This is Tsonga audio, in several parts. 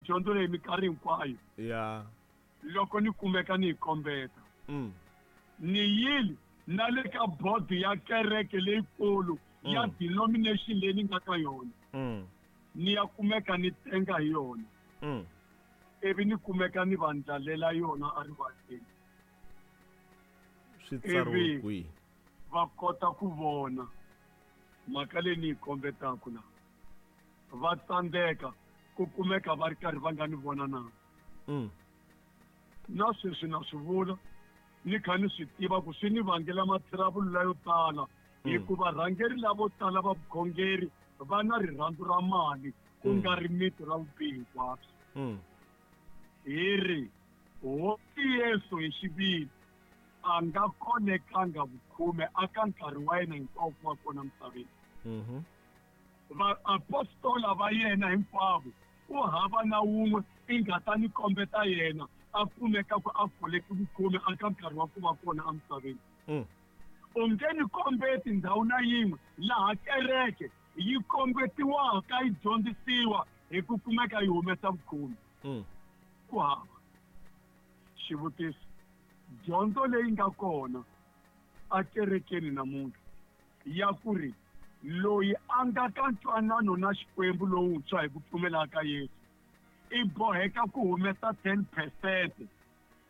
Dyondzo leyi minkarhi hinkwayo. Ya. Loko ni kumeka ni yi kombeta. Ni yile na le ka bodo ya kereke leyikulu ya denomination leyi ni nga ka yona. Ni ya kumeka ni tenga hi yona. Ivi ni kumeka ni va ndlalela yona erivaleni. Swi tsariwe Ivi kwihi? va kota ku vona mhaka leyi ni yi kombetaka la. Va tsandzeka ku kumeka va ri karhi va nga ni vona na. Na sweswi na swi vula ni kha ni swi tiva ku swi ni vangela mathirabulu layo tala, hikuva rhangeri lavo tala va vukhongeri va na rirhandzu ra mali ku nga ri miti ra vubihi hinkwabyo. Hi ri Hosi Yesu hi xiviri a nga kolekanga vukhume aka nkarhi wa yena hinkwawo ku va kona misaveni. Vaapostola va yena hinkwavo ku hava na wun'we i nga ta ni kombeta yena a kumeka ku a koleke vukhume aka nkarhi wa ku va kona emisaveni. U nge ni kombeti ndhawu na yin'we laha kereke yi kombetiwaka yi dyondzisiwa hi ku kumeka yi humesa vukhume. Ku hava. Xivutiso, dyondzo leyi nga kona akerekeni namuntlha ya ku ri loyi a nga ka ntwanano na Xikwembu lowuntshwa hi ku pfumela ka Yesu i boheka ku humesa 10%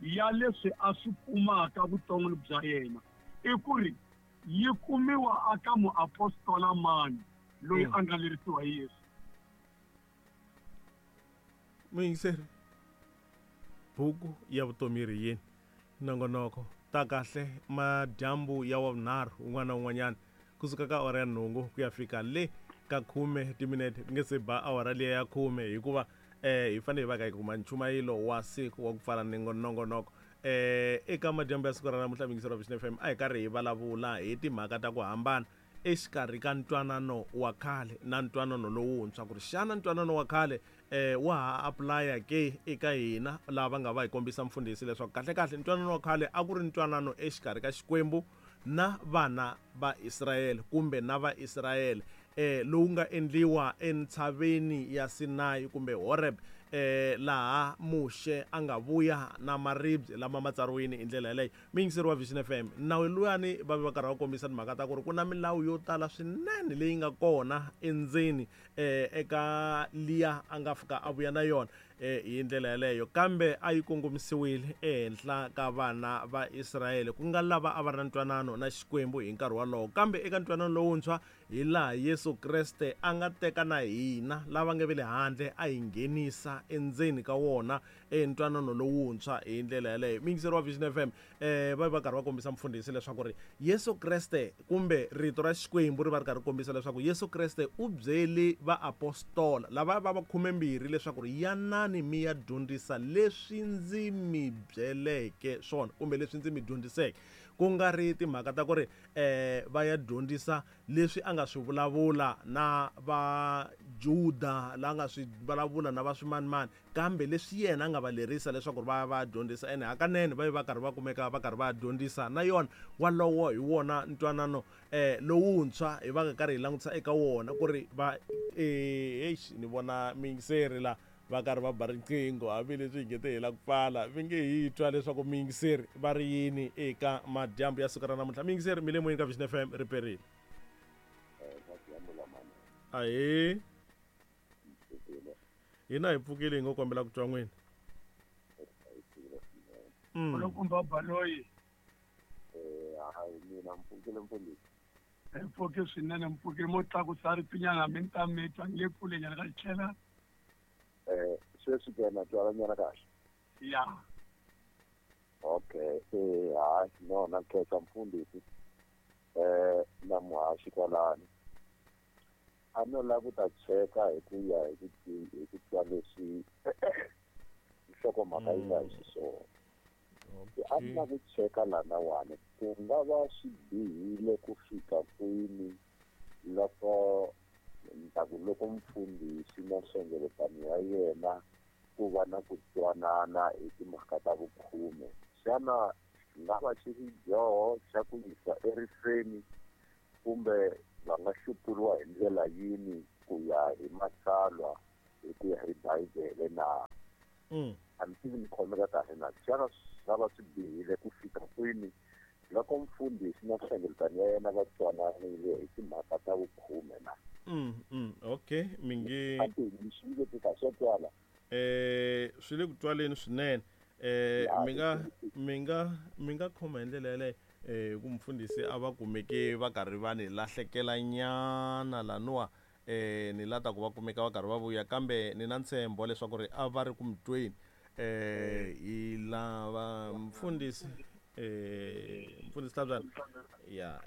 ya leswi a swi kumaka vuton'wini bya yena, i ku ri yi kumiwa aka muapostola mani loyi a nga lerisiwa hi Yesu. Muyingiseri, buku ya vutomi yi ri yini? Nongonoko ta kahle madyambu ya wavunharhu wun'wana na wun'wanyana kusuka ka awara ya nhungu ku ya fika le ka khume timinete ku nge se ba awara liya ya khume, hikuva hi fanele hi va ka hi kuma nchumayelo wa siku wa ku pfala nongonoko. Eka madyambu ya siku ra namuntlha muyingiseri wa Vision FM a hi karhi hi vulavula hi timhaka ta ku hambana exikarhi ka ntwanano wa khale na ntwanano lowuntshwa, ku ri xana ntwanano wa khale wa ha apply-a ke eka hina lava va nga va hi kombisa mfundhisi leswaku kahle-kahle ntwanano wa khale a ku ri ntwanano exikarhi ka Xikwembu na vana va Israyele kumbe na Vaisrayele, lowu nga endliwa entshaveni ya Sinayi kumbe Horeb, laha Muxe a nga vuya na maribye lama ma tsariwini hi ndlela yaleyo. Muyingiseri wa Vision FM, nawu luyani va ve va karhi va kombisa timhaka ta ku ri ku na milawu yo tala swinene leyi nga kona endzeni eka liya a nga fika a vuya na yona hi ndlela yaleyo, kambe a yi kongomisiwile ehenhla ka vana va Israyele, ku nga lava a va ri na ntwanano na Xikwembu hi nkarhi wolowo. Kambe eka ntwanano lowuntshwa, hi laha Yesu Kreste a nga teka na hina lava nga ve le handle a hi nghenisa endzeni ka wona entwanano lowuntshwa hi ndlela yaleyo. Muyingiseri wa Vision FM, va va karhi va kombisa mfundhisi leswaku ri Yesu Kreste kumbe rito ra Xikwembu ri va ri karhi kombisa leswaku Yesu Kreste u byele vaapostola lava va va khumembirhi leswaku ri yanani mi ya dyondzisa leswi ndzi mi byeleke swona kumbe leswi ndzi mi dyondziseke, ku nga ri timhaka ta ku ri va ya dyondzisa leswi a nga swi vulavula na Vajuda, la nga swi vulavula na va swimanimani, kambe leswi yena a nga va lerisa leswaku va ya va ya dyondzisa. Ene hakanene va ve va karhi va kumeka va karhi va dyondzisa na yona. Walowo hi wona ntwanano lowuntshwa hi va nga karhi hi langutisa eka wona ku ri va eish, ni vona muyingiseri la va karhi va ba riqingho hambileswi hi nge te hi la ku pfala, vi nge hi twa leswaku muyingiseri va ri yini eka madyambu ya siku ra namuntlha. Muyingiseri mi le moyeni ka Vision FM, ri perile. Ahee, hina hi pfukile, hi ngo kombela ku twa n'wina. Nkulukumba Baloyi. Hayi, mina mpfukile mfundhisi. Hi pfuke swinene, mpfuke mo tlakusa ritinyana mi ni ta mi twa ni le kulenyana ka xitlhela. Sweswi ke na twala nyana kahle. Ya. Okay, hayi, no, na khensa mfundhisi. Na muhaxi kwalano. A no lava ku ta cheka hi ku ya hi ku hi ku twa leswi nhlokomhaka yi nga hi xiswona. A ni lava ku cheka lanawani ku nga va swi bihile ku fika kwini loko ni ta ku loko mfundhisi na nhlengeletano ya yena ku va na ku twanana hi timhaka ta vukhume, xana xi nga va xi ri dyoho xa ku yisa erifeni kumbe va nga xupuriwa hi ndlela yini ku ya hi matsalwa, hi ku ya hi Bibele na? A ni tivi ni khomeka kahle na xana swi nga va swi bihile ku fika kwini loko mfundhisi na nhlengeletano ya yena va twananile hi timhaka ta vukhume na? Okay, mi nge A ti ni swi veke kahle swa twala. Swi le ku twaleni swinene. Mi nga khoma hi ndlela yaleyo ku mfundhisi a va kumeke va karhi va ni lahlekela nyana laniwa, ni lata ku va kumeka va karhi va vuya, kambe ni na ntshembo leswaku ri a va ri ku mi tweni. Hi lava mfundhisi Hlabyana ya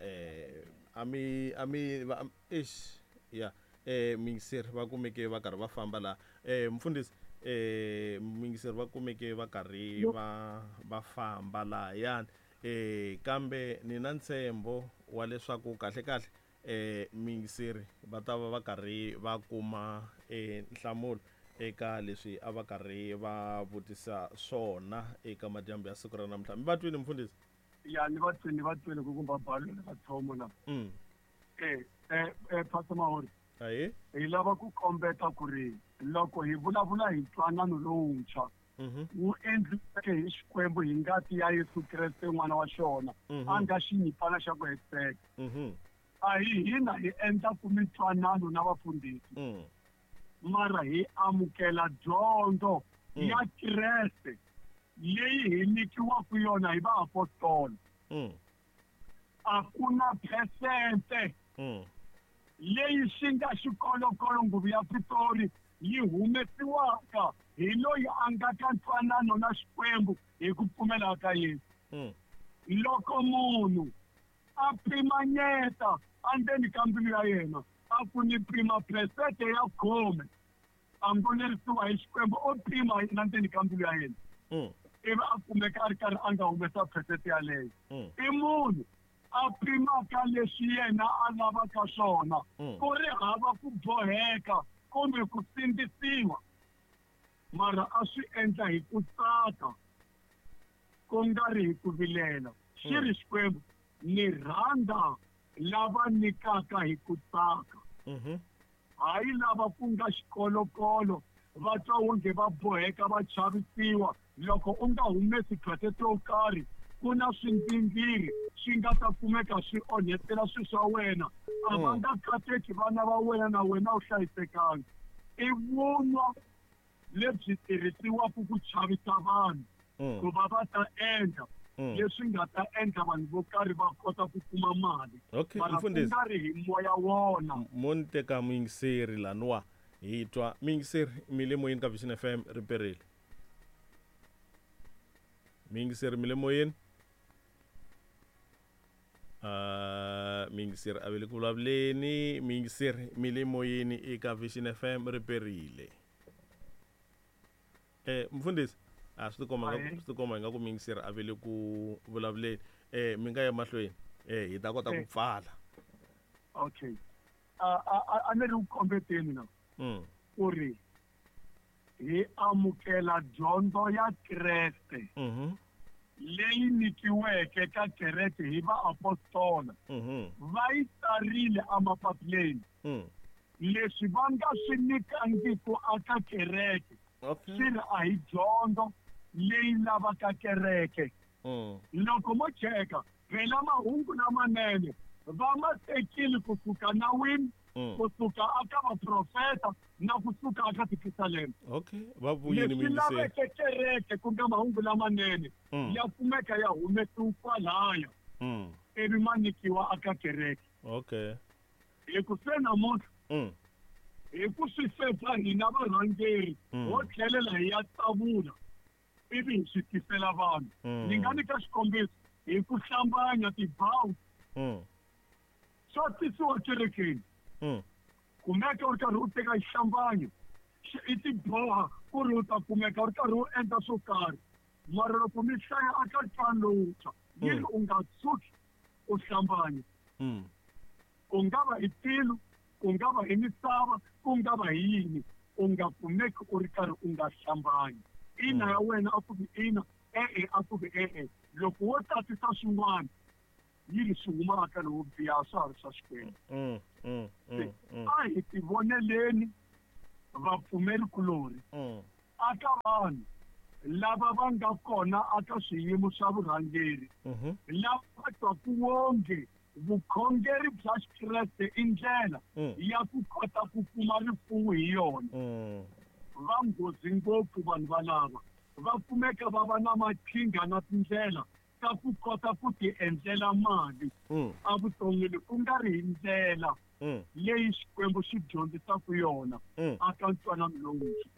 a mi va ish ya muyingiseri va kumeke va karhi va famba laha. Mfundhisi, muyingiseri va kumeke va karhi va famba lahayani, kambe ni na ntshembo wa leswaku kahle kahle muyingiseri va ta va va karhi va kuma nhlamulo eka leswi a va karhi va vutisa swona eka madyambu ya siku ra namuntlha. Mi va twini, mfundhisi? Ya, ni va twile ku kumba balo va thomo la. Pastor Mahori. Ayi. Hi lava ku kombeta ku ri loko hi vulavula hi ntwanano lowuntshwa wu endliweke hi Xikwembu hi ngati ya Yesu Kreste n'wana wa xona, a nga xinyimpfana xa ku hetiseka, a hi hina hi endlaku mintwanano na vafundhisi, mara hi amukela dyondzo ya Kreste leyi hi nyikiwaka yona hi vaapostola. A ku na phesente leyi xi nga xikolokolo nguvu ya Pitori yi humesiwaka hi loyi a nga ka ntwanano na Xikwembu hi ku pfumela ka Yesu. Loko munhu a pimanyeta endzeni ka mbilu ya yena a ku ni pima phesente ya 10, a ngo lerisiwa hi Xikwembu, o pima yena ndzeni ka mbilu ya yena, ivi a kumeka a ri karhi a nga humesa phesente yaleyo, i munhu a pimaka leswi yena a lavaka swona, ku ri hava ku boheka kumbe ku sindzisiwa, mara a swi endla hi ku tsaka, ku nga ri hi ku vilela. Xi ri Xikwembu, ni rhandza lava nyikaka hi ku tsaka, hayi lava ku nga xikolokolo, va twa wonge va boheka, va chavisiwa loko u nga humesi phesente yo karhi ku na swindzingiri swi nga ta kumeka swi onhetela swilo swa wena, a va nga kateki vana va wena na wena u hlayisekanga. I vunwa lebyi tirhisiwaka ku chavisa vanhu ku va va ta endla leswi nga ta endla vanhu vo karhi va kota ku kuma mali, mara ku Mfundhisi. nga ri hi moya wona. Mo ni teka muyingiseri laniwa, hi twa muyingiseri. Mi le moyeni ka Vision FM, ri perile. Muyingiseri, mi le moyeni. Muyingiseri a ve le ku vulavuleni. Muyingiseri, mi le moyeni eka Vision FM, ri perile. Mfundhisi, a swi tikomba Ahee. swi tikomba ingaku muyingiseri a ve le ku vulavuleni. Mi nga ya mahlweni, hi ta kota ku pfala. Okay, a ni ri ku kombeteni na ku ri hi amukela dyondzo ya Kreste leyi nyikiweke ka kereke hi vaapostola. Va yi tsarile emapapileni. Leswi va nga swi nyikangiku aka kereke, swi ri a hi dyondzo leyi lavaka kereke. Loko mo cheka phela mahungu lamanene va ma tekile kusuka nawini, kusuka aka vaprofeta na kusuka aka tipisalema. Okay, va vuyini Leswi muyingiseri. laveke kereke, ku nga mahungu lamanene, ya kumeka ya humesiwa kwalaya, ivi ma nyikiwa aka kereke. Hi ku se namuntlha, hi ku swi fepha hina varhangeri, ho tlhelela hi ya tsavula ivi hi swi tisela vanhu. Ni nga nyika xikombiso hi ku hlambanya tibawu swa tisiwa kerekeni. Kumeka u ri karhi u teka xihlambanyo, i tiboha ku ri u ta kumeka u ri karhi u endla swo karhi, mara loko mi hlaya aka ntwanano lowuntshwa, yi ri u nga tshuki u hlambanya, ku nga va hi tilo, ku nga va hi misava, ku nga va hi yini, u nga kumeki u ri karhi u nga hlambanyi. Ina ya wena a ku vi ina, e-e a ku vi e-e. Loko wo tatisa swin'wana, yi ri swi huma aka lowo biha, swa ha ri swa Xikwembu. A hi tivoneleni, vapfumeri kulorhi. Aka vanhu lava va nga kona aka swiyimo swa vurhangeri lava twaku wonge vukhongeri bya Xikreste i ndlela ya ku kota ku kuma rifuwo hi yona. Va nghozi ngopfu vanhu valava va kumeka va va na maqhinga na tindlela ta ku kota ku ti endlela mali evuton'wini ku nga ri hi ndlela leyi Xikwembu xi dyondzisaka yona aka ntwanano lowuntshwa.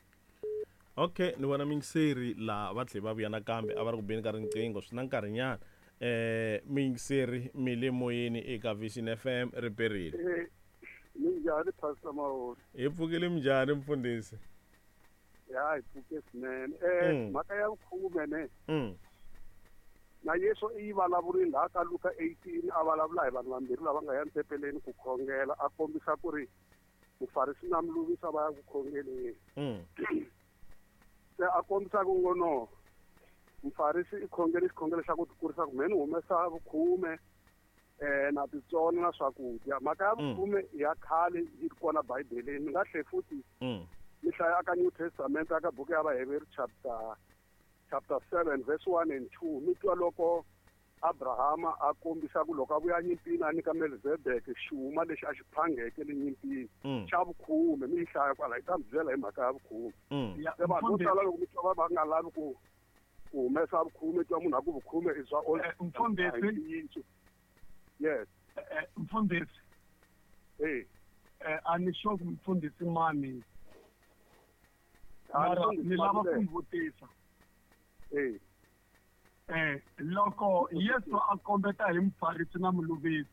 Okay, ni vona miyingiseri laha va tlhe va vuya nakambe a va ri ku beni ka riqingho swi na nkarhinyana. Miyingiseri mi le moyeni eka Vision FM ri perile. Minjhani Pastor Mahori? Hi pfukile minjhani mfundhisi? Ya hi pfuke swinene. Mhaka ya vukhume ne. Na Yesu i yi vulavurile laha ka Luka 18 a vulavula hi vanhu vambirhi lava nga ya ntempeleni ku khongela a kombisa ku ri mufarisi na muluvisi va ya ku khongeleni. Se a kombisa ku ngo no mufarisi i khongele xikhongelo xa ku tikurisa ku mhe ni humesa vukhume na titsona na swakudya. Mhaka ya vukhume ya khale yi ri kona Bibeleni. Mi nga tlhe futhi mi hlaya ka New Testament aka buku ya Vaheveru chapter 7 verse 1 and 2 mi twa loko Abrahama a kombisa ku loko a vuya nyimpini a nyika Melchizedek xuma lexi a xi phangeke le nyimpini xa vukhume. Mi yi hlaya kwala yi ta mi byela hi mhaka ya vukhume. Se vanhu vo tala loko mi twa va nga lavi ku humesa vukhume twa munhu a ku vukhume i bya old mfundhisi. Yes. Mfundhisi. A ni sure ku mfundhisi mani. Ni lava ku mi vutisa. Loko Yesu a kombeta hi mufarisi na muluvisi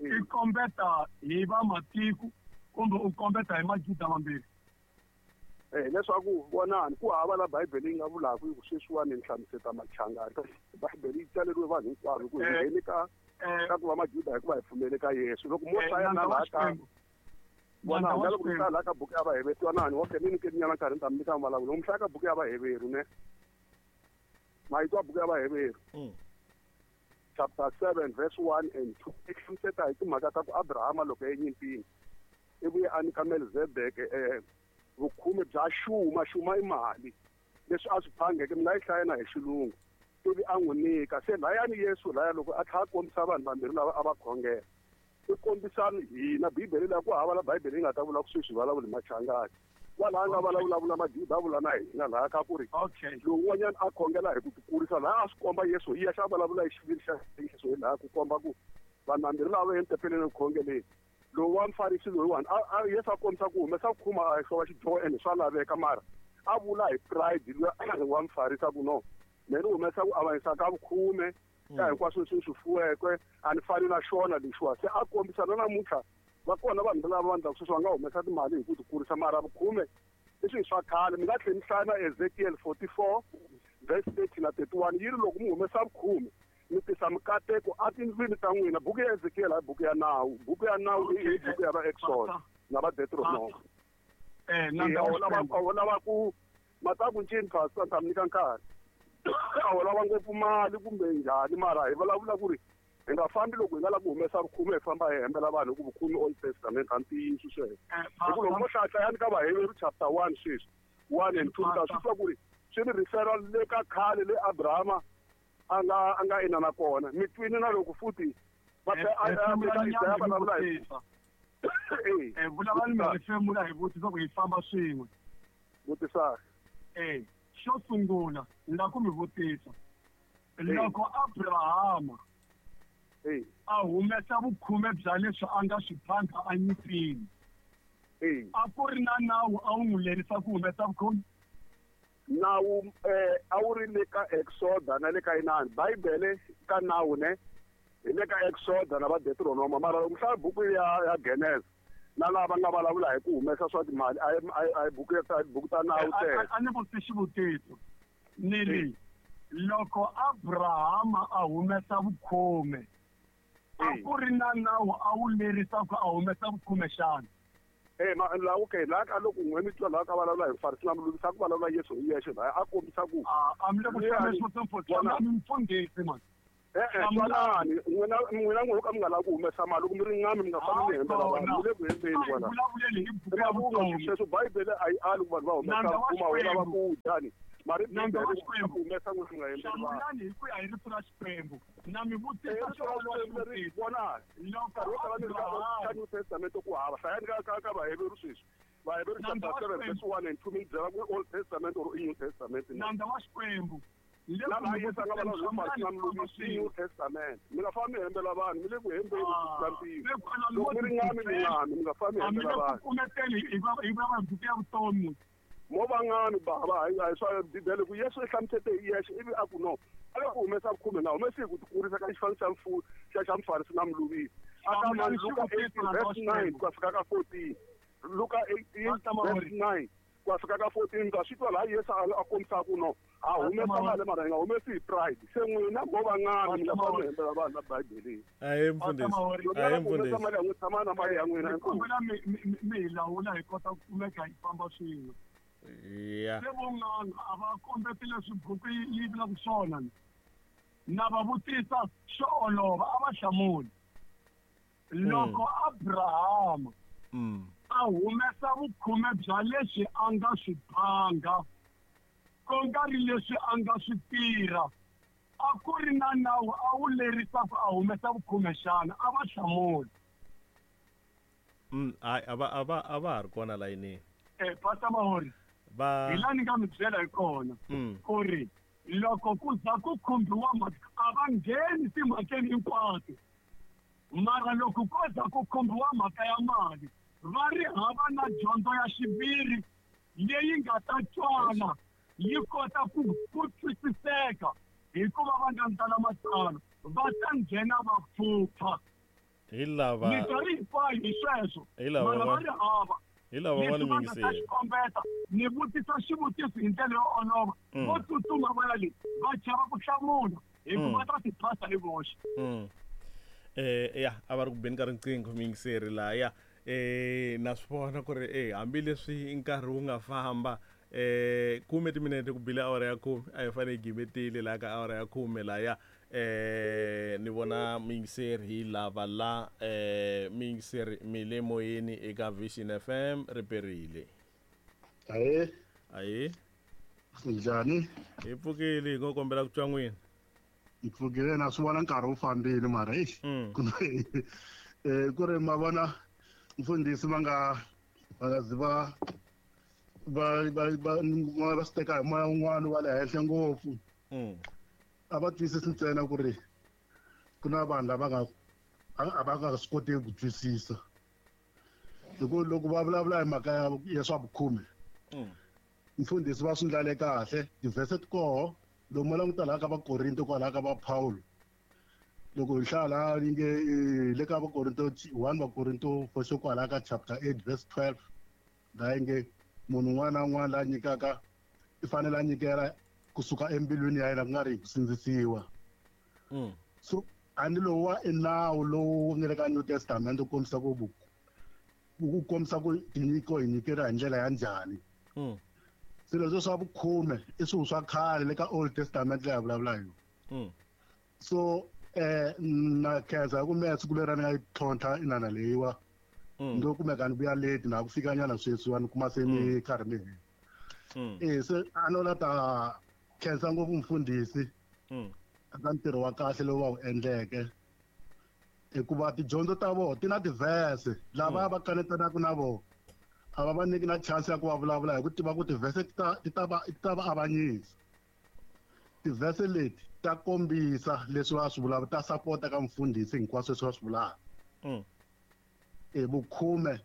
i kombeta hi vamatiko kumbe u kombeta hi majuda mambirhi? Leswaku vonani ku hava la Bibele yi nga vulaka ku sweswiwani ni hlamuseta machangani. Bibele yi tsaleriwe vanhu hinkwavo ku hi ngheni ka ku va majuda hikuva hi pfumele ka Yesu. Loko mo hlaya na laha ka vona loko mi hlaya laha ka buku ya Vaheveru twanani okay ni nyike nyana nkarhi ni ta mi nyika mbulavulo. Loko mi hlaya ka buku ya Vaheveru ne mayitwa buku ya Vaheveru chapter 7 verse 1 and 2 i hlamuseta hi timhaka ta ku Abrahama loko enyimpini i vuye a nyika Melchizedek vukhume bya xuma. Xuma i mali leswi a swi phangeke mi nga yi hlaya na hi xilungu ivi a n'wi nyika. Se layani Yesu laya loko a tlhela a kombisa vanhu vambirhi lava a va khongela i kombisa hina Bibele leyi ku hava la Bibele yi nga ta vula ku sweswi vulavula hi machangani kwalaha nga vulavula majuda a vula na hina laha ka ku ri lowun'wanyana a khongela hi ku tikurisa laha a swi komba Yesu hi yexe a vulavula hi xiviri xa Yesu hi laha ku komba ku vanhu vambirhi lava entempeleni ku khongeleni lowu wa mufarisi loyiwani a Yesu a kombisa ku humesa vukhume a xova xidyoho ene swa laveka mara a vula hi pride luya wa mufarisi a ku no me ni humesa ku avanyisa ka vukhume ka hinkwaswo leswi swi fuweke a ni fani na xona lexiwa. Se a kombisa na namuntlha va kona vanhu lava va endlaka sweswi va nga humesa timali hi ku tikurisa mara vukhume i swilo swa khale. Mi nga tlhela mi hlaya na Ezekiel 44 verse 30 na 31 yi ri loko mi humesa vukhume mi tisa mikateko etindlwini ta n'wina. Buku ya Ezekiel i buku ya nawu. Buku ya nawu i buku ya va Exodus na va Deuteronomy. A lava ku mataku ncini pastor ta mi nyika nkarhi a lava ngopfu mali kumbe njhani mara hi vulavula ku ri hi nga fambi loko hi nga lavi ku humesa vukhume hi famba hi hembela vanhu hi ku vukhume Old Testament a ntiyiso sweswo. Hi ku loko mo hlaya ka Vaheveru chapter 1 sweswi 1 and 2 ta swi twa ku ri swi ri referral le ka khale le Abrahama a nga ina na kona mi twini na loko futhi va vulavula hi vulavula mi hefemula hi vutisa ku hi famba swin'we. Vutisa. Xo sungula ni lava ku mi vutisa loko Abrahama a humesa vukhume bya leswi a nga swi phanga enyimpini a ku ri na nawu a wu n'wi lerisa ku humesa vukhume? Nawu a wu ri le ka Exoda na le ka inani Bibele ka nawu ne hi le ka Exoda na va Deuteronoma mara loko mi hlaya buku ya Genesis na lava va nga vulavula hi ku humesa swa timali a buku ya buku ta nawu tele. A ni vutisi xivutiso ni ri loko Abrahama a humesa vukhume a ku ri na nawu a wu lerisa ku a humesa vukhume xana? La okay la ka loko n'we mi twa laha ka vulavula hi mufarisi na muluvisi a ku vulavula Yesu hi yexe laha a kombisa ku a mi le ku mfundhisi man. Twanani n'wina n'wina n'wi ka mi nga lavi ku humesa mali loko mi ri ngami mi nga fambi mi hembela vanhu mi le ku hembeni kwala. Sweswo Bibele a yi ali ku vanhu va humesa kuma wu lava ku dya ni mari Bibele ku humesa n'wina mi nga hembeli vanhu. Hlamulani hi ku ya hi rito ra Xikwembu na mi vutisa leri vonani nkarhi wo tala ni ri ka New Testament ku hava hlayani ka Vaheveru sweswi Vaheveru chapter 7 verse 1 and 2 mi byela ku Old Testament or i New Testament nandza wa Xikwembu na laha Yesu a nga vulavula hi Farisi na muluvisi i New Testament mi nga fambi mi hembela vanhu mi le ku hembeni ku tlula mpimo loko mi ri ngami mi ngami mi nga fambi mi hembela vanhu mo va ngami bava a hi swa Bibele ku Yesu i hlamusete hi yexe ivi a ku no a le ku humesa vukhume nga humesi hi ku tikurisa ka xifaniso xa Mufarisi na muluvisi a ka mani Luka 18 verse 9 ku ya fika ka 14 Luka 18 verse 9 ku ya fika ka 14 ta swi twa laha Yesu a kombisaka ku no a humesa mali mara hi nga humesi hi pride se n'wina mo va ngami mi nga fambi mi hembela vanhu la Bibeleni. Ahee mfundhisi. Ahee mfundhisi. Mali ya n'wina tshama na mali ya n'wina. Kombela mi hi lawula hi kota ku kumeka hi famba swin'we. Ya. Se vo n'anga a va kombeti leswi buku yi vulaka swona na va vutisa xo olova a va hlamuli. Loko Abrahama a humesa vukhume bya leswi a nga swi phanga ku nga ri leswi a nga swi tirha a ku ri na nawu a wu lerisa ku a humesa vukhume xana a va hlamuli. Hayi a va a va a va ha ri kona layinini. Pastor Mahori Va hi laha ni nga mi byela hi kona ku ri loko ku za ku khumbiwa mhaka a va ngheni timhakeni hinkwato mara loko ko za ku khumbiwa mhaka ya mali va ri hava na dyondzo ya xiviri leyi nga ta twala yi kota ku twisiseka hikuva va nga ndlala matsalwa va ta nghena va pfupfa. Hi lava minkarhi hinkwayo hi sweswo Hi lava mara va ri hava hi lava va ni leswi va nga ta yingiseli. xi kombeta ni vutisa xivutiso hi ndlela yo olova vo tsutsuma va ya le va chava ku hlamula hikuva va ta ti phasa hi voxe. Ya a va ri ku beni ka riqingho muyingiseri lahaya na swi vona ku ri hambileswi nkarhi wu nga famba 10 timinete ku bile awara ya 10 a hi fanele hi gimetile laha ka awara ya 10 lahaya ni vona muyingiseri hi lava la muyingiseri mi le moyeni eka Vision FM ri perile. Ahee. Ahee. Njhani? Hi pfukile hi ngo kombela ku twa n'wina. Hi pfukile na swi vona nkarhi wu fambile mara eish. Ku ri ma vona mfundhisi va nga zi va va swi teka hi moya wun'wana wa le henhla ngopfu. A va twisisi ntsena ku ri ku na vanhu lava nga a va nga swi koteki ku twisisa. Hi ku loko va vulavula hi mhaka ya swa vukhume mfundhisi va swi ndlale kahle tivhese ti koho lomu va languta laha ka Vakorinto kwalaha ka va Paulo loko hi hlaya laha yi nge le ka Vakorinto 1 Vakorinto for sure kwalaha ka chapter 8 verse 12 laha yi nge munhu un'wana na un'wana la nyikaka i fanele a nyikela kusuka embilwini ya yena ku nga ri hi ku sindzisiwa. So a ni lowu wa i nawu lowu nga le ka New Testament wu kombisa ku wu kombisa ku tinyiko hi nyikela hi ndlela ya njhani. Swilo leswi swa vukhume i swilo swa khale le ka Old Testament leyi hi vulavula hi yona. So na khensa hi ku mehe siku leri ni nga yi tlhontlha inana leyiwa ndo kumeka ni vuya late na ku fika nyana sweswiwa ni kuma se ni karhi ni hela. Se a no la ta khensa ngopfu mfundhisi eka ntirho wa kahle lowu va wu endleke hikuva tidyondzo ta vona ti na tivhese lava va kanetanaka na vona a va va nyiki na chance ya ku va vulavula hi ku tiva ku tivhese ti ta va avanyisa. Tivhese leti ta kombisa leswi va swi vulaka ta sapota ka mfundhisi hinkwaswo leswi va swi vulaka. Vukhume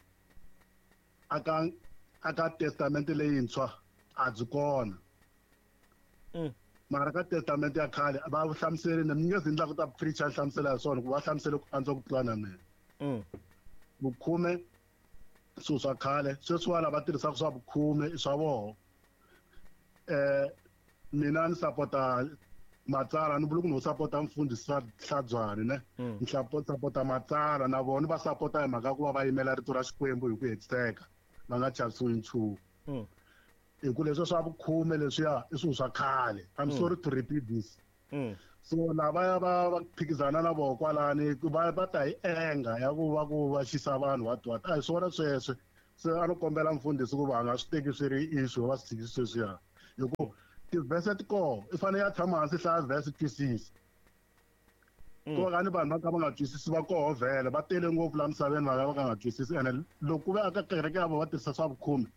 aka testamente leyintshwa a byi kona. Mara ka testamente ya khale va hlamuserile ni nge zi ni lava ku ta preacher hlamusela hi swona ku va hlamusele ku antswa ku tlula na mina. Vukhume swilo swa khale sweswiwani va tirhisaka swa vukhume i swa voho. Mina ni sapota matsalwa ni vula ku no sapota mfundhisi Hlabyani ne ni sapota matsalwa na vona va sapota hi mhaka ku va va yimela rito ra Xikwembu hi ku hetiseka va nga chavisiwi nchumu. Hi ku leswi swa vukhume leswiya i swilo swa khale. I'm sorry to repeat this. So lavaya va phikizana na voho kwalani va ta hi enga ya ku va ku va xisa vanhu what a hi swona sweswo. Se a no kombela mfundhisi ku va nga swi teki swi ri issue va swi tshikisi sweswiya hi ku tivhese ti koho i fanele ya tshama hansi hlaya vhese twisisa. Ku va ni vanhu va ka va nga twisisi va koho vhele va tele ngopfu laha misaveni va ka nga twisisi ene loko ku ve aka kereke ya vona va tirhisa swa vukhume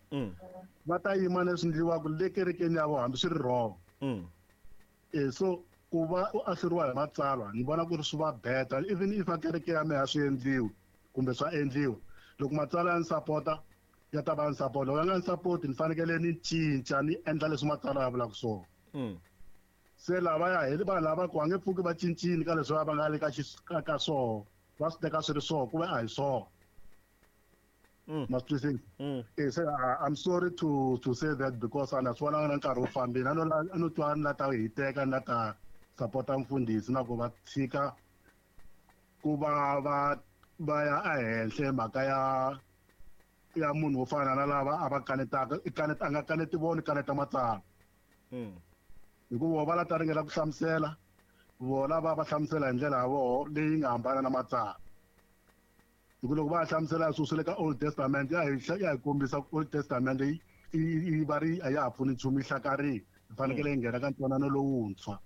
va ta yima leswi endliwaka le kerekeni ya vona hambi swi ri wrong. So ku va u ahluriwa hi matsalwa ni vona ku ri swi va better even if a kereke ya mehe a swi endliwi kumbe swa endliwa loko matsalwa ya ni sapota ya ta va ni sapota loko ya nga ni sapoti ni fanekele ni cinca ni endla leswi matsalwa ya vulaka swona. Se lavaya hi vanhu lava ku va nge pfuki va cincile ka leswi va nga le ka swona va swi teka swi ri swona ku ve a hi swona. Ma swi twisisa? Se I'm sorry to say that because a na swi vonanga na nkarhi wu fambile a no twa ni la ta hiteka ni la ta sapota mfundhisi na ku va tshika ku va va ya ehenhla mhaka ya munhu wo fana na lava a va kanetaka a nga kaneti vona kaneta matsalwa. Hikuva va la ta ringeta ku hlamusela vona va hlamusela hi ndlela ya voho leyi nga hambana na matsalwa. Hikuva loko va hlamusela swilo swa le ka Old Testament ya hi kombisa ku Old Testament yi va ri a ya ha pfuni nchumu yi hlakarile yi fanekele yi nghena ka ntwanano lowuntshwa.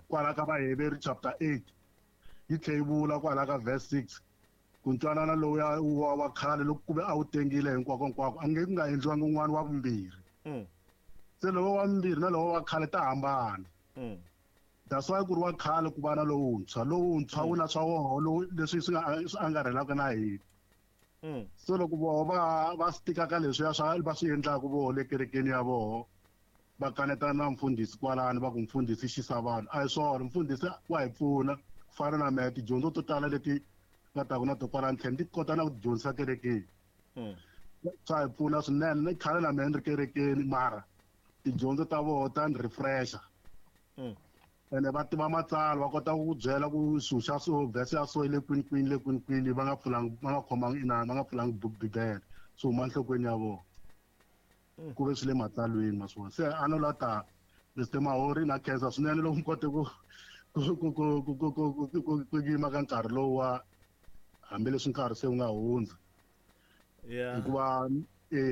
Kwala ka Vaheberi chapter 8 yi tlhe yi vula kwala ka verse 6 ku ntwanano lowuya wa khale loko ku ve a wu tengile hinkwako hinkwako a nge ku nga endliwangi un'wana wa vumbirhi. Se lowo wa vumbirhi na lowo wa khale ta hambana. That's why ku ri wa khale ku va na lowuntshwa lowuntshwa wu na swa woho lowu leswi swi nga swi angarhelaka na hina. So loko voho va swi tikaka leswiya swa va swi endlaka voho le kerekeni ya voho va kanetana na mfundhisi kwalano va ku mfundhisi xisa vanhu a hi swona mfundhisi wa hi pfuna ku fana na mehe tidyondzo to tala leti nga taku na to kwalano tlhela ti kota na ku dyondzisa kerekeni. Swa hi pfuna swinene ni khale na mehe ni ri kerekeni mara tidyondzo ta voho ta ni refresha. Ene va tiva matsalwa va kota ku byela ku swilo xa so verse ya so yi le kwini kwini le kwini kwini va nga pfulanga va nga khomangi inani va nga pfulangi bibele swi huma enhlokweni ya vona ku ve swi le matsalweni ma swona. Se a no la ta Mr Mahori na khensa swinene loko mi kote ku yima ka nkarhi lowu wa hambileswi nkarhi se wu nga hundza. Hikuva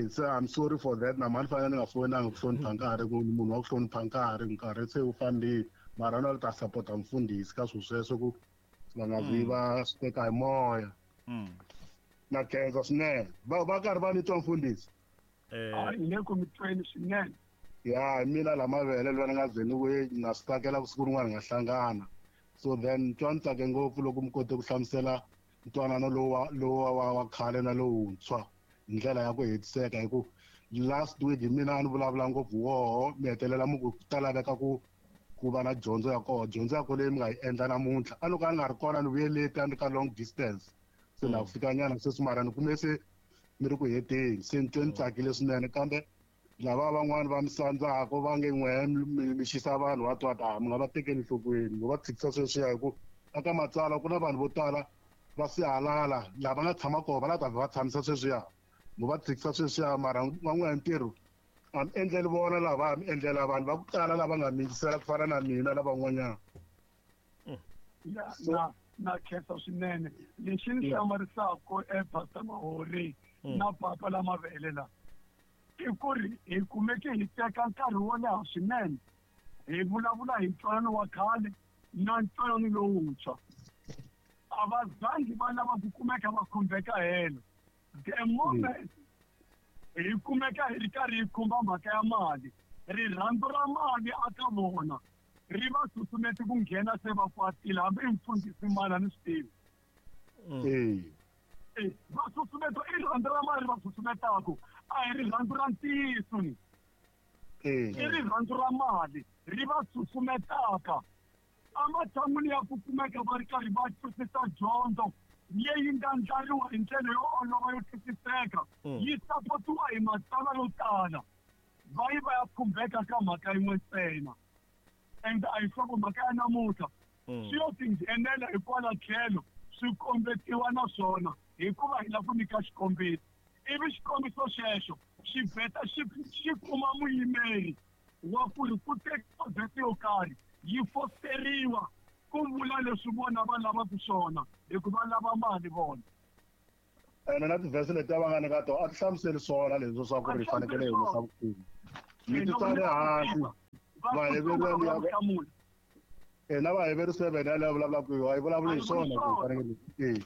se I'm sorry for that na mani fanele ni nga foyinanga ku hlonipha nkarhi ku munhu wa ku hlonipha nkarhi nkarhi se wu fambile mara na ta sapota mfundhisi ka swilo sweswo ku va nga vi va swi teka hi moya. Na khensa swinene va karhi va ni twa mfundhisi. Hi le ku mi tweni swinene. Ya mina la mavele lwa ni nga ze ni ku na swi tsakela ku siku rin'wana hi nga hlangana. So then twa ni tsake ngopfu loko mi kote ku hlamusela ntwanano lowa wa khale na lowuntshwa hi ndlela ya ku hetiseka hi ku last week hi mina a ni vulavula ngopfu woho mi hetelela mi ku ta laveka ku va na dyondzo ya koho dyondzo ya koho leyi mi nga yi endla namuntlha a loko a nga ri kona ni vuye late a ni ka long distance se na ku fikanyana sweswi mara ni kume se mi ri ku heteni se ni twe ni tsakile swinene kambe lava van'wani va mi sandzaka va nge n'we mi xisa vanhu va twa ta mi nga va tekeli enhlokweni mi va tshikisa sweswiya hi ku aka matsalwa ku na vanhu vo tala va sihalala lava nga tshama kona va la ta va tshamisa sweswiya mi va tshikisa sweswiya mara van'wana ntirho a mi endleli vona lava a mi endlela vanhu va ku tala lava nga mi yingisela ku fana na mina na van'wanyana. Na khensa swinene lexi ni hlamarisaka Pastor Mahori na papa la mavele la i ku ri hi kumeke hi teka nkarhi wo leha swinene hi vulavula hi ntwanano wa khale na ntwanano lowuntshwa. A va zangi va lava ku kumeka va khumbeka helo. The moment hi kumeka hi ri karhi hi khumba mhaka ya mali rirhandzu ra mali aka vona ri va susumete ku nghena se va kwatile hambi i mfundhisi mali a ni swi tivi. Va susumeta i rirhandzu ra mali va susumetaku a hi rirhandzu ra ntiyiso ni. I rirhandzu ra mali ri va susumetaka ematshan'wini ya ku kumeka va ri karhi va twisisa dyondzo leyi nga ndlariwa hi ndlela yo olova yo twisiseka yi sapotiwa hi matsalwa yo tala va yi va ya khumbeka ka mhaka yin'we ntsena. And a hi nhloko mhaka ya namuntlha swi yo tinghenela hikwala tlhelo swi kombetiwa na swona hikuva hi lava ku nyika xikombiso ivi xikombiso xexo xi vheta xi kuma muyimeri wa ku ri ku tekiwa vhesi yo karhi Yi fosteriwa ku vula leswi vona va lavaka swona hikuva lava mali vona. Ene na tivhese leti va nga nyika tona a ti hlamuseli swona leswi swa ku ri fanekele hi humesa vukhume. Mi ti tsale hansi. Vaheveru na Vaheveru 7 yaleyo vulavulaka hi yi vulavuli hi swona ku fanekele.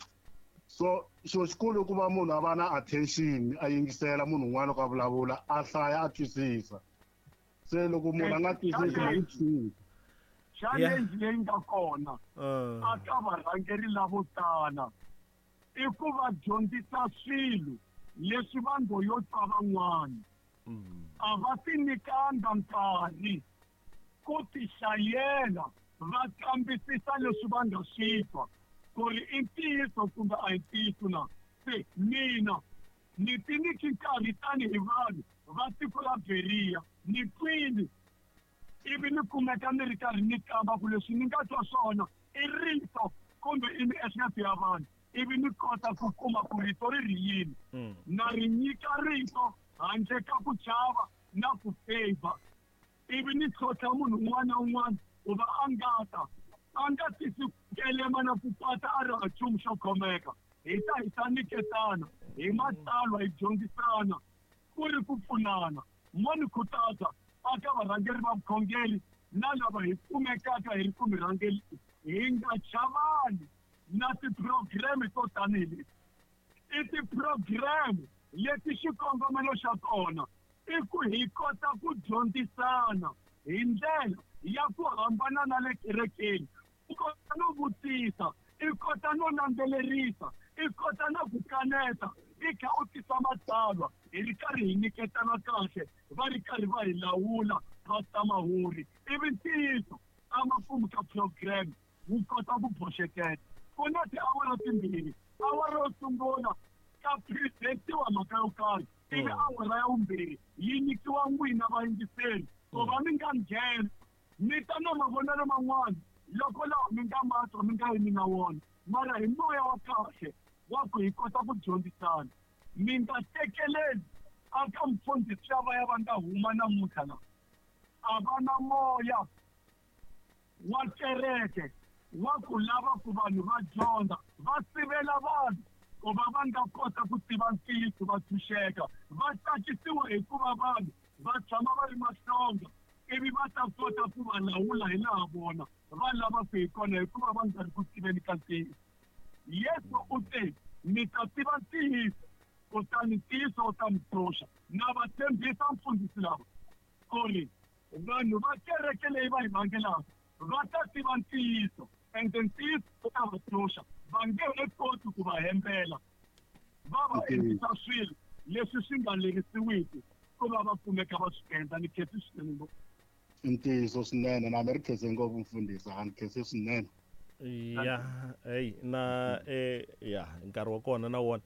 So xilo xikulu i ku va munhu a va na attention, a yingisela munhu un'wana loko a vulavula, a hlaya a twisisa. Se loko munhu a nga twisisi ma yi tshika. Challenge leyi nga kona a ka varhangeri lavo tala i ku va dyondzisa swilo leswi va ngo yo twa van'wana. A va ti nyikanga nkarhi ku tihlayela va kambisisa leswi va nga swi twa ku ri i ntiyiso kumbe a hi ntiyiso na. Se mina ni ti nyiki nkarhi tanihi vanhu va tiko ra Berea ni twini ivi ni kumeka ni ri karhi ni kamba ku leswi ni nga twa swona i rito kumbe i miehleketo ya vanhu ivi ni kota ku kuma ku rito ri ri yini. Na ri nyika rito handle ka ku chava na ku favor ivi ni tlhontlha munhu un'wana na un'wana ku va a nga ta a nga tisi kelema na ku pata a ri ha nchumu xo khomeka. Hi ta hi ta nyiketana hi matsalwa hi dyondzisana ku ri ku pfunana. Mo ni khutaza aka varhangeri va vukhongeri na lava hi kumekaka hi ri ku mirhangeri hi nga chavani na ti-program to tanihi leti. I ti-program leti xikongomelo xa kona i ku hi kota ku dyondzisana hi ndlela ya ku hambana na le kerekeni. U kota no vutisa, i kota no landzelerisa, i kota na ku kaneta, i kha u tisa matsalwa hi ri karhi hi nyiketana kahle, va ri karhi va hi lawula va ta mahuri. Ivi ntiyiso amakumu ka program wu kota ku boxekela. Ku na tiawara timbirhi, awara yo sungula ka presentiwa mhaka yo karhi, ivi awara ya vumbirhi yi nyikiwa n'wina vayingiseri ku va mi nga nghena mi ta na mavonelo man'wana loko lawa mi nga ma twa mi nga yimi na wona, mara hi moya wa kahle wa ku hi kota ku dyondzisana. Mi nga tekeleli aka mfundhisi lava ya va nga huma namuntlha la a va na moya wa kereke wa ku lava ku vanhu va dyondza, va sivela vanhu ku va va nga kota ku tiva ntiyiso va tshunxeka, va tsakisiwa hikuva vanhu va tshama va ri mahlonga ivi va ta kota ku va lawula hi laha vona va lavaka hi kona hikuva va nga ri ku tiveni ka ntiyiso. Yesu u te mi ta tiva ntiyiso kutani ntiyiso wu ta mi tshunxa. Na va tshembisa mfundhisi lava ku ri vanhu va kereke leyi va yi rhangelaka va ta tiva ntiyiso ende ntiyiso wu ta va tshunxa, va nge he koti ku va hembela va va endlisa swilo leswi swi nga lerisiwiki ku va va kumeka va swi endla. Ni khensi swinene ngopfu. Ntiyiso swinene na mi ri khense ngopfu mfundhisi, a ni khense swinene. Ya hey na ya nkarhi wa kona na wona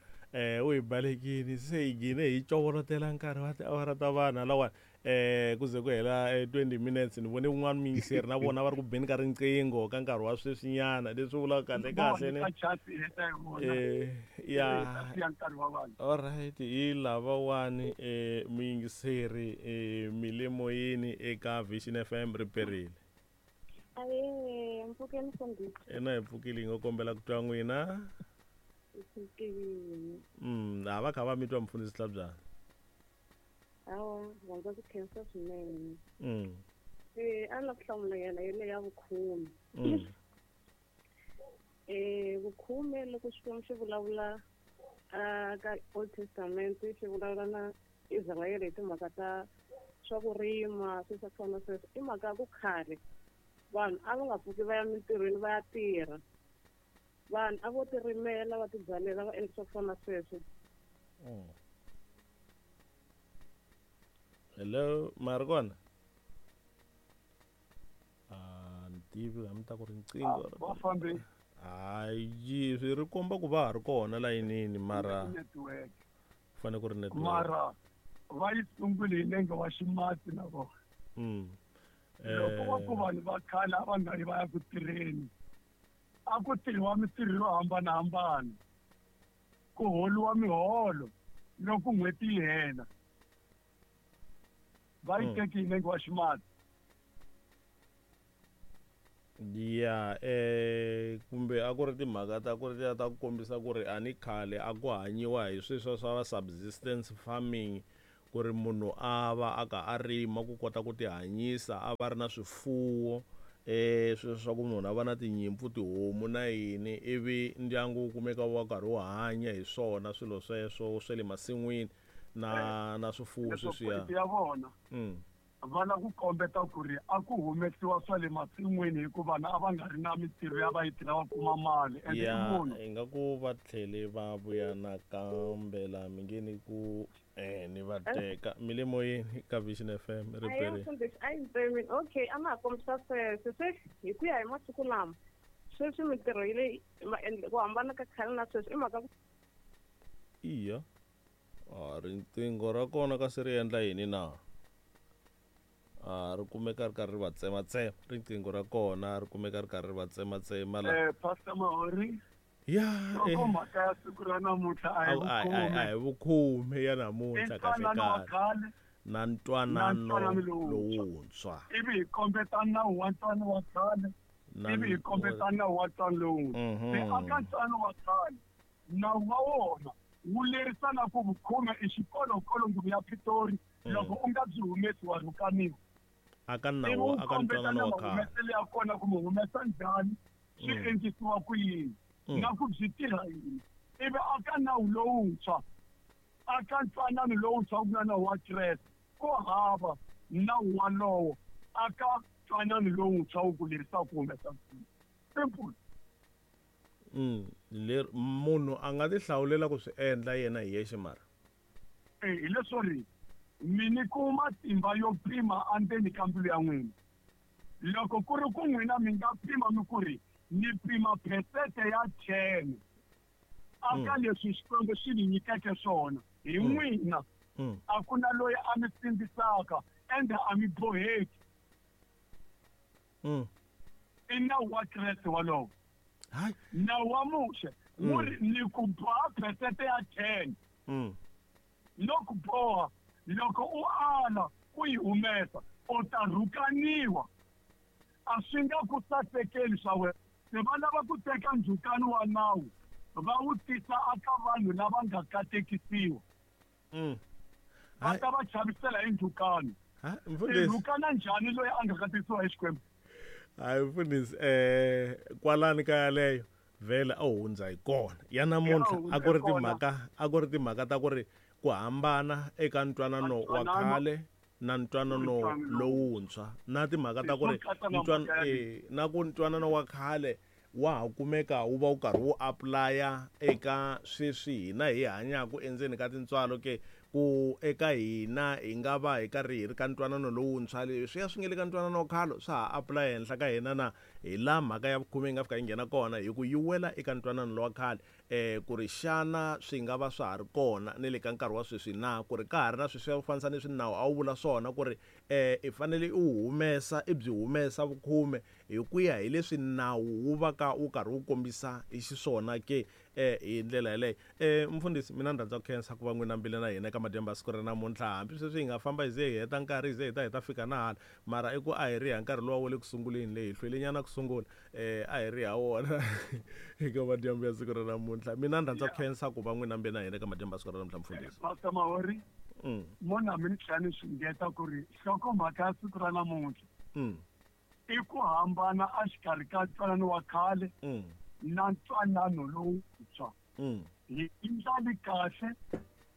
u hi balekile se hi gine hi covolotela nkarhi wa tiawara ta vanhu lawani ku ze ku hela 20 minutes. Ni vone un'wana muyingiseri na vona va ri ku beni ka riqingho ka nkarhi wa sweswinyana leswi vulaka kahle kahle ne ya. Alright, hi lavawani muyingiseri mi le moyeni eka Vision FM ri perile. Mpfukeni mfundhisi. Ena hi pfukile, hi nga kombela ku twa n'wina. A va kha va mi twa mfundhisi Hlabyana. Hawa, rhandza ku khensa swinene. A la ku hlamula yena yele ya vukhume. Vukhume loko Xikwembu xi vulavula ka Old Testament xi vulavula na Israyele hi timhaka ta swa ku rima swilo swa ku fana na sweswo, i mhaka ya ku khale vanhu a va nga pfuki va ya mintirhweni va ya tirha, vanhu a vo ti rimela va tibyalela va endla swa ku fana na sweswo. Hello, ma ri kona? A ni tivi hambi ta ku riqingho. Va fambe. Hayi, swi ri komba ku va ha ri kona layinini mara network. Fanele ku ri network. Mara va yi sungule hi nenge wa ximatsi na vona. Loko va ku vanhu va khale a va nga yi va ya ku tirheni, a ku tirhiwa mintirho yo hambanahambana, ku holiwa miholo loko n'hweti yi hela. Va yi teki hi nenge wa ximatsi. Ya kumbe a ku ri timhaka ta ku ri ta ku kombisa ku ri a ni khale a ku hanyiwa hi sweswo swa subsistence farming, ku ri munhu a va a ka a rima ku kota ku tihanyisa, a va ri na swifuwo, sweswo swa ku munhu a va na tinyimpfu, tihomu na yini, ivi ndyangu wu kumeka wu va karhi wu hanya hi swona swilo sweswo swa le masin'wini na swifuwo sweswiya. Ya vona va lava ku kombeta ku ri a ku humesiwa swa le masin'wini hikuva vana a va nga ri na mintirho ya va yi tirha va kuma mali. Ya ingaku va tlhele va vuya nakambe laha mi nge ni ku ni va teka mi le moyeni ka Vision FM riperi. Okay, a ma ha kombisa sweswo se hi ku ya hi masiku lama sweswi mintirho yi le ku hambana ka khale na sweswi i mhaka iya riqingho ra kona kasi ri endla yini na ri kumeka ri karhi ri va tsematsema riqingho ra kona ri kumeka ri karhi ri va tsematsema la Pastor Mahori. Ya mhaka ya siku ra namuntlha a hi vukhume ya namuntlha kahle kahle na ntwanano lowuntshwa, ivi hi kombeta nawu wa ntwanano wa khale, ivi hi kombeta nawu wa ntwanano lowuntshwa. Se aka ntwanano wa khale nawu wa wona wu lerisa na ku vukhume i xikolokolo nguvu ya Pitori, loko u nga byi humesi wa rhukaniwa. Aka nawu aka ntwanano wa khale humesele ya kona ku mu humesa njhani, swi endlisiwa ku yini na ku byi tirha yini. Ivi aka nawu lowuntshwa, aka ntwanano lowuntshwa ku nga nawu wa Kreste, ku hava nawu walowo aka ntwanano lowuntshwa wu ku lerisa ku humesa. Simple. Leri munhu a nga ti hlawulela ku swi endla yena hi yexe mara hi leswo ri mi nyikiwa matimba yo pima endzeni ka mbilu ya n'wina. Loko ku ri ku n'wina mi nga pima mi ku ri ni pima phesente ya 10 aka leswi Xikwembu xi ni nyikeke swona hi n'wina, a ku na loyi a mi sindzisaka ende a mi boheki. I nawu wa Kreste walowo. Nawu wa Muxe wu ri ni ku boha phesente ya 10. Loko boha, loko u ala ku yi humesa u ta rhukaniwa, a swi nga ku sasekeli swa wena. Se va lava ku teka ndzhukano wa nawu va wu tisa aka vanhu lava nga katekisiwa, va ta va chavisela hi ndzhukano. Rhukana njhani loyi a nga katekisiwa hi Xikwembu? Hayi mfundhisi, kwalani ka yaleyo vhele a hundza hi kona ya namuntlha. A ku ri timhaka, a ku ri timhaka ta ku ri ku hambana eka ntwanano wa khale na ntwanano lowuntshwa, na timhaka ta ku ri na ku ntwanano wa khale wa ha kumeka wu va wu karhi wu apply-a eka sweswi hina hi hanyaka endzeni ka tintswalo ke, ku eka hina hi nga va hi karhi hi ri ka ntwanano lowuntshwa, leswiya swi nge le ka ntwanano wa khale swa ha apply henhla ka hina na. Hi laha mhaka ya vukhume yi nga fika yi nghena kona, hi ku yi wela eka ntwanano lowa khale, ku ri xana swi nga va swa ha ri kona ni le ka nkarhi wa sweswi na, ku ri ka ha ri na sweswiya ku fanisa ni swinawu a wu vula swona ku ri i fanele u humesa, i byi humesa vukhume hi ku ya hi leswi nawu wu va ka wu karhi wu kombisa hi xiswona ke, hi ndlela yaleyo. Mfundhisi, mina ni rhandza ku khensa ku va n'wina mbile na hina eka madyambu ya siku ra namuntlha. Hambi sweswi hi nga famba hi ze hi heta nkarhi, hi ze hi ta fika na hala, mara i ku a hi ri ha nkarhi luwa wa le ku sunguleni, leyi hi hlwelenyana ku sungula, a hi ri ha wona eka madyambu ya siku ra namuntlha. Mina ni rhandza ku khensa ku va n'wina mbile na hina eka madyambu ya siku ra namuntlha, mfundhisi. Pastor Mahori, mona mi ni tlhela ni swi ngeta ku ri nhlokomhaka ya siku ra namuntlha i ku hambana exikarhi ka ntwanano wa khale na ntwanano lowuntshwa. Hi ndlali kahle,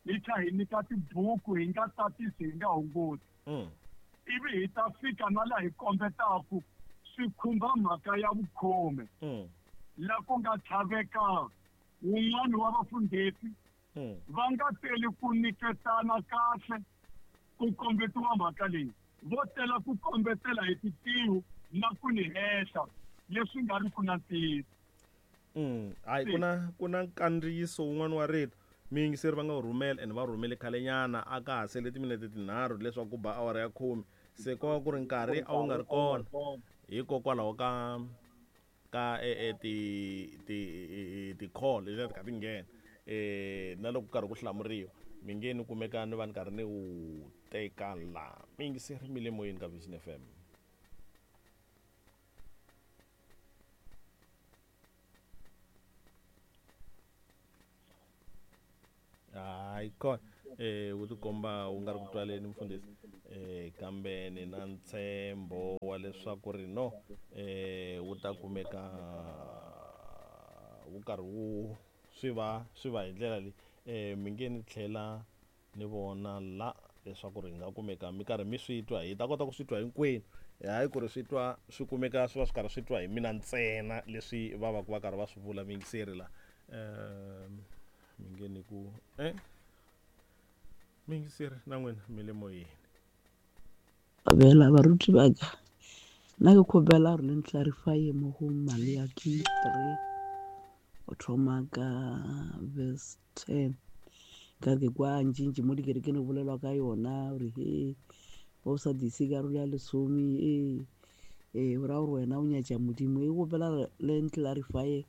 hi tlha hi nyika tibuku, hi nga tatisi, hi nga hunguti. Ivi hi ta fika na laha hi kombetaku swi khumba mhaka ya vukhume, la ku nga tlhaveka wun'wana wa vafundhisi va nga teli ku nyiketana kahle ku kombetiwa mhaka leyi, vo tela ku kombetela hi titihu na ku ni hehla leswi nga ri ku na ntiyiso. Hayi, ku na nkandziyiso wun'wana wa rito miyingiseri va nga wu rhumela, ende va rhumele khalenyana a ka ha sele timinete 3 leswaku ku ba awara ya 10. Se ko va ku ri nkarhi a wu nga ri kona hikokwalaho ka ti-call leti ti kha ti nghena, na loko karhi ku hlamuriwa mi nge ni kumeka ni va ni karhi ni wu teka la. Miyingiseri mi le moyeni ka Vision FM. Hayi kona wu tikomba wu nga ri ku twaleni mfundhisi, kambe ni na ntshembo wa leswaku ri no wu ta kumeka wu karhi wu swi va hi ndlela leyi. Mi nge ni tlhela ni vona la leswaku ri nga kumeka mi karhi mi swi twa, hi ta kota ku swi twa hinkwenu, hayi ku ri swi twa swi kumeka swi va swi karhi swi twa hi mina ntsena leswi va va ku va karhi va swi vula miyingiseri la. Mi nge ni ku miyingiseri na n'wina mi le moyeni. Abela baruti ba ka, nna ke kgopela gore le ntlarifye mo go Maleaki 3 o thoma ka verse 10. Ka ke kwa ntšintši mo dikerekeng go bolelwa ka yona gore he ba o sa dise karolo ya lesome, ee o raya gore wena o nyatša Modimo. E kgopela le ntlarifye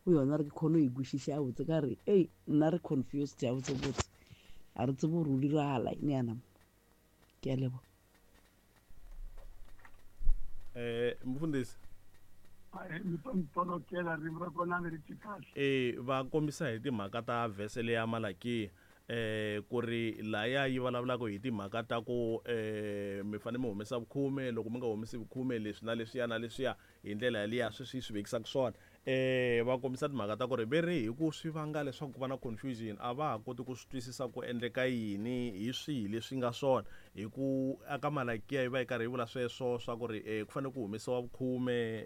go yona re ke kgone go e kwešiša botse, ka re ei nna re confused ya botse botse, a re tsebe gore o diragala eng yana. Ke a leboga. Mfundhisi mi to mi tolokela ririmi ra kona mi ri twi kahle. Va kombisa hi timhaka ta vhese leya Malakiya, ku ri laya yi vulavulaka hi timhaka ta ku mi fanele mi humesa vukhume, loko mi nga humesi vukhume leswi na leswiya na leswiya hi ndlela yaliya sweswi yi swi vekisaka swona. Va kombisa timhaka ta ku ri ve ri hi ku swi vanga leswaku ku va na confusion, a va ha koti ku swi twisisa ku endleka yini, hi swihi leswi nga swona. Hi ku aka Malakiya yi va yi karhi yi vula sweswo swa ku ri ku fanele ku humesiwa vukhume,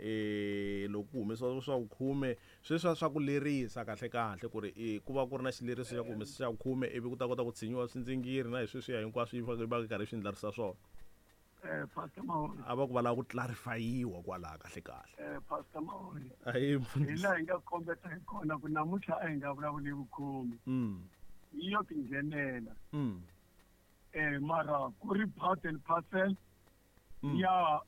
loko ku humesiwa swa vukhume sweswiya swa ku lerisa kahle kahle ku ri ku va ku ri na xileriso xa ku humesa xa vukhume, ivi ku ta kota ku tshinyiwa swindzingiri na hi sweswiya hinkwaswo yi va yi karhi yi swi ndlarisa swona. Pastor Mahori. A va ku va lava ku clarifyiwa kwalaha kahle kahle. Pastor Mahori. Ayi hi laha hi nga kombeta hi kona ku namuntlha a hi nga vulavuli vukhume. Yi yo tinghenela. Mara ku ri part and parcel ya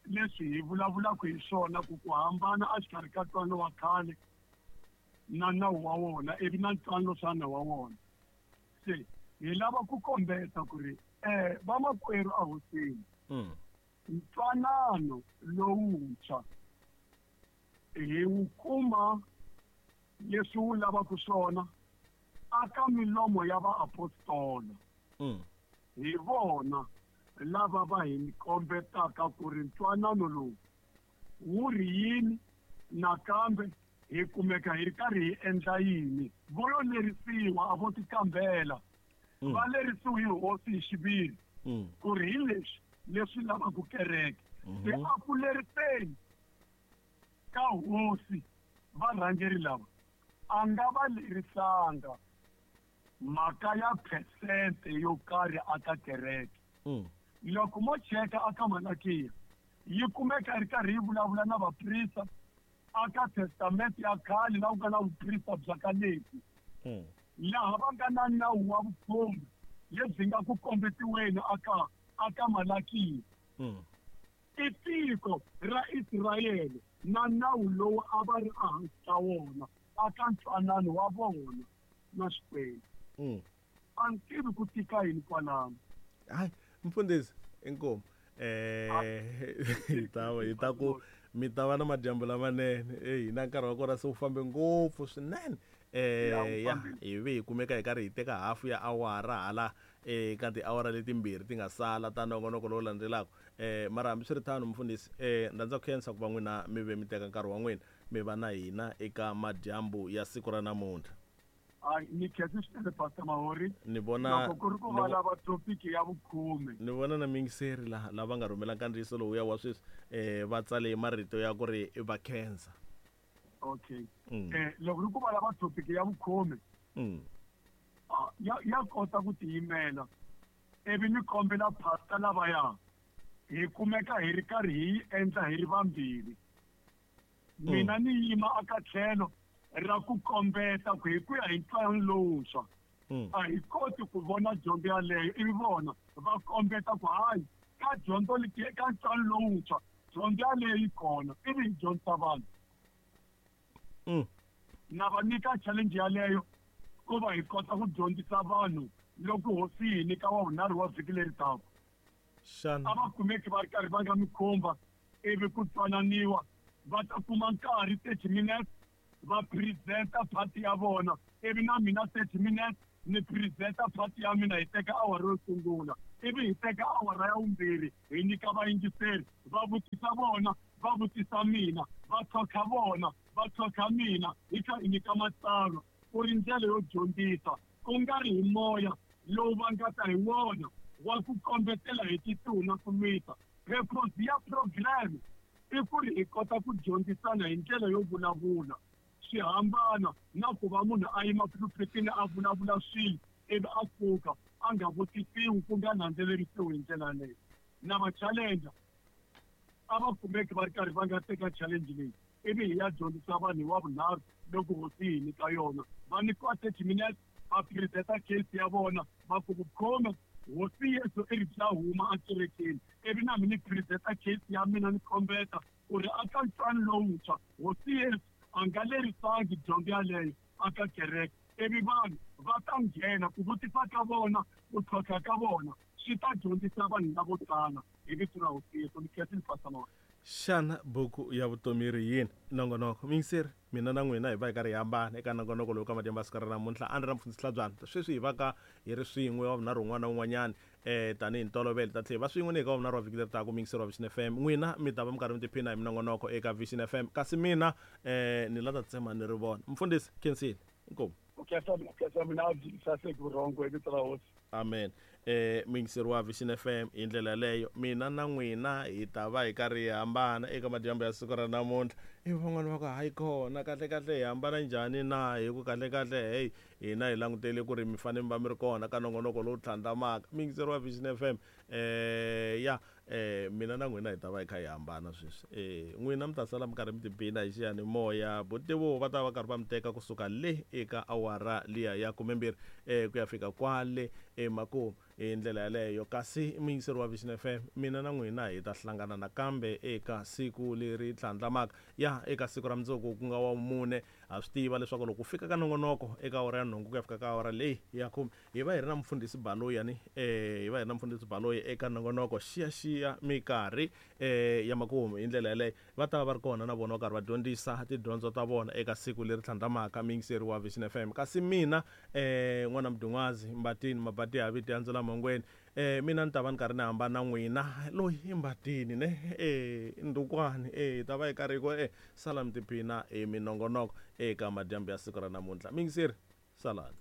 leswi hi vulavulaka hi swona, ku ku hambana exikarhi ka ntwanano wa khale na nawu wa wona, ivi na ntwanano swa nawu wa wona. Se hi lava ku kombeta ku ri vamakwerhu a hosini, ntwanano lowuntshwa hi wu kuma leswi wu lavaka swona aka milomo ya vaapostola. Hi vona lava va hi kombetaka ku ri ntwanano lowu wu ri yini, nakambe hi kumeka hi ri karhi hi endla yini. Vo yo lerisiwa a vo tikambela, va lerisiwe hi hosi hi xiviri ku ri hi leswi leswi lavaka kereke. Se a ku leriseni ka hosi varhangeri lava a nga va lerisanga mhaka ya phesente yo karhi aka kereke. Loko mo cheka aka Malakiya yi kumeka ri karhi yi vulavula na vaprista aka testamente ya khale la ku nga na vuprista bya ka Levi, laha va nga na nawu wa vukhume lebyi nga ku kombetiweni aka Malakiya. I tiko ra Israyele na nawu lowu a va ri ehansi ka wona aka ntwanano wa vona na Xikwembu. A ni tivi ku tika yini kwalano. Hayi mfundhisi, inkomu. Hi ta ku mi ta va na madyambu lamanene. Hina nkarhi wa kona se wu fambe ngopfu swinene. Ya hi ve hi kumeka hi karhi hi teka hafu ya awara hala ka tiawara letimbirhi ti nga sala ta nongonoko lowu landzelaka. Mara hambiswiritano mfundhisi, ndza ku khensa ku va n'wina mi ve mi teka nkarhi wa n'wina mi va na hina eka madyambu ya siku ra namuntlha. Ni khensa swinene Pastor Mahori. Ni vona loko ku ri ku va lava topic ya vukhume. Ni vona na mingiseri la lava nga rhumela nkandziyiso lowu ya wa sweswi, va tsale marito ya ku ri va khensa. Okay. Loko ri ku va lava topic ya vukhume, ya kota ku tiyimela, ivi ni kombela pastor lavaya hi kumeka hi ri karhi hi yi endla hi ri vambirhi. Mina ni yima aka tlhelo ra ku kombeta ku hi ku ya hi ntwanano lowuntshwa a hi koti ku vona dyondzo yaleyo, ivi vona va kombeta ku hayi ka dyondzo leti ka ntwanano lowuntshwa dyondzo yaleyo yi kona, ivi hi dyondzisa vanhu. Na va nyika challenge yaleyo ku va hi kota ku dyondzisa vanhu loko hosi yi hi nyika wa vunharhu wa vhiki leri taka. A va kumeki va ri karhi va nga mi khumba, ivi ku twananiwa, va ta kuma nkarhi 30 minutes va presenta party ya vona, ivi na mina 30 minutes Ni presenta part ya mina, hi teka awara yo sungula, ivi hi teka awara ya vumbirhi hi nyika vayingiseri, va vutisa vona, va vutisa mina, va tlhontlha vona, va tlhontlha mina, hi kha hi nyika matsalwa ku ri ndlela yo dyondzisa, ku nga ri hi moya lowu va nga ta hi wona wa ku kombetela hi tituna ku lwisa. Purpose ya program i ku ri hi kota ku dyondzisana hi ndlela yo vulavula. Swi hambana na ku va munhu a yima pulpitini a vulavula swilo ivi a pfuka a nga vutisiwi, ku nga landzelerisiwi hi ndlela yaleyo. Na va challenger a va kumeki va ri karhi va nga teka challenge leyi, ivi hi ya dyondzisa vanhu hi wa vunharhu loko hosi yi hi nyika yona. Va nyikiwa 30 minutes, va presenta case ya vona, va ku vukhome hosi Yesu i ri bya huma ekerekeni, ivi na mina ni presenta case ya mina, ni kombeta ku ri aka ntwano lowuntshwa hosi Yesu a nga lerisangi dyondzo yaleyo aka kereke, ivi vanhu va ta nghena ku vutisa ka vona, ku tlhontlha ka vona swi ta dyondzisa vanhu lavo tala hi vito ra hosi Yesu. Ni khensile, Pastor Mawela. Xana buku ya vutomi yi ri yini? Nongonoko. Muyingiseri, mina na n'wina hi va hi karhi hi hambana eka nongonoko lowu ka madyambu ya siku ra namuntlha. A ni ri na mufundhisi Hlabyana. Sweswi hi va ka hi ri swin'we wa vunharhu wun'wana na wun'wanyana tanihi ntolovelo. Hi ta tlhela hi va swin'we ni hi ka wa vunharhu wa vhiki leri taka, muyingiseri wa Vision FM. N'wina mi ta va mi karhi mi tiphina hi minongonoko eka Vision FM, kasi mina ni la ta tsema ni ri vona. Mufundhisi, khensile. Inkomu. Ku khensa ku khensa mina a byi saseki vurhongo hi vito ra hosi. Amen. Muyingiseri wa Vision FM, hi ndlela yaleyo mina na n'wina hi ta va hi karhi hi hambana eka madyambu ya siku ra namuntlha. Ivi van'wani va ku hayi kona, kahle kahle hi hambana njhani na? Hi ku kahle kahle hey, hina hi langutele ku ri mi fanele mi va mi ri kona ka nongonoko lowu tlhandlamaka. Muyingiseri wa Vision FM, ya mina na n'wina hi ta va hi kha hi hambana sweswi. N'wina mi ta sala mi karhi mi tiphina hi xiyanimoya. Botebo va ta va karhi va mi teka kusuka le eka awara liya ya 12 ku ya fika kwale emakumu hi ndlela yaleyo. Kasi muyingiseri wa Vision FM, mina na n'wina hi ta hlangana nakambe eka siku leri tlhandlamaka, ya eka siku ra mundzuku ku nga wa vumune. Ha swi tiva leswaku loko ku fika ka nongonoko eka awara ya nhungu ku ya fika ka awara leyi ya khume, hi va hi ri na mufundhisi Baloyi ni hi va hi ri na mufundhisi Baloyi eka nongonoko xiyaxiya minkarhi ya makumu. Hi ndlela yaleyo va ta va va ri kona na vona va karhi va dyondzisa tidyondzo ta vona eka siku leri tlhandlamaka, muyingiseri wa Vision FM. Kasi mina n'wana Mdun'wazi Mbatini Mabati ya vito ya ndzula mhongweni, mina ni ta va ni karhi ni hambana na n'wina loyi i Mbatini ne ndukwani hi ta va hi karhi hi ku sala mi tiphina hi minongonoko eka madyambu ya siku ra namuntlha. Muyingiseri, salani.